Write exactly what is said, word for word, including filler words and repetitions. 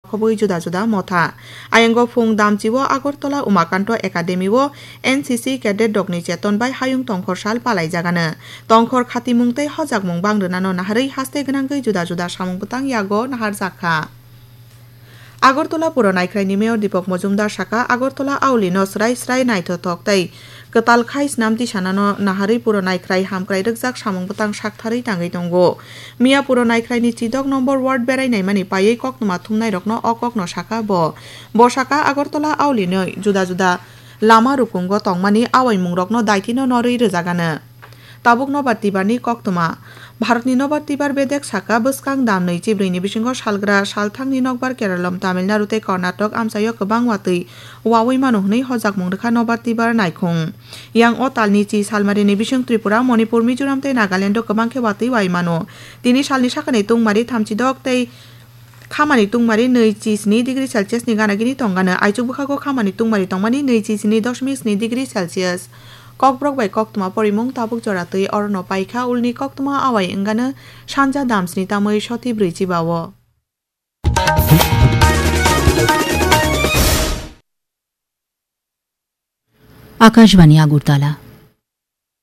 khobwi juda juda motha. Ayango phung damchio Agartala Umakanto Academy o N C C cadet rokni cheton bai hayung tongkhor sal palaijagano. Tongkhor khatimung tei hojakmung bang rwnano naharwi haste gwnangwi juda juda samung bwtang yago naharjak kha. Agartala Puro Naikhraini Mayor Deepak Majumdar saka, Agartala auli no srai srai naithothok tei kwtal khai snam tisanano naharwi Puro Naikhrai hamkrai rwkjak samung bwtang saktharwi tangwi tongo. Miya Puro Naikhraini chidok nombor ward berai naimani paiwi koktwma thumnairokno o kokno saka bo. Bo saka Agartala auli noi juda juda lama rukungo tongmani awaimungrokno daitino norwi rwjagano. Tabuk Nobar Tibarni koktwma. Bharatni Nobar Tibar bedek saka bwskang dam nwi chibrwini bisingo salgra salthangni nokbar Keralom, Tamil Nadu tei Karnataka amchaio kwbang watwi wawi mano hwnwi hojakmung rwkha Nobar Tibar naikhung. Yang o talni chi salmarini bising Tripura, Manipur, Mizoram tei Nagalando kwbang khe watwi wai mano. Tini salni sakani tungmari thamchidok tei khamani tungmari nwi chi sni degree Celsius ni gana gini tongano. Aichuk bwkhago khamani tungmari tongmani nwi chi sni doshmik sni degree Celsius. Kokborok bai koktwma porimung tabuk jora twi orono paikha, ulni koktwma awai wngano sanja dam sni tamwi soti brwi chiba o. Akashbani Agartala.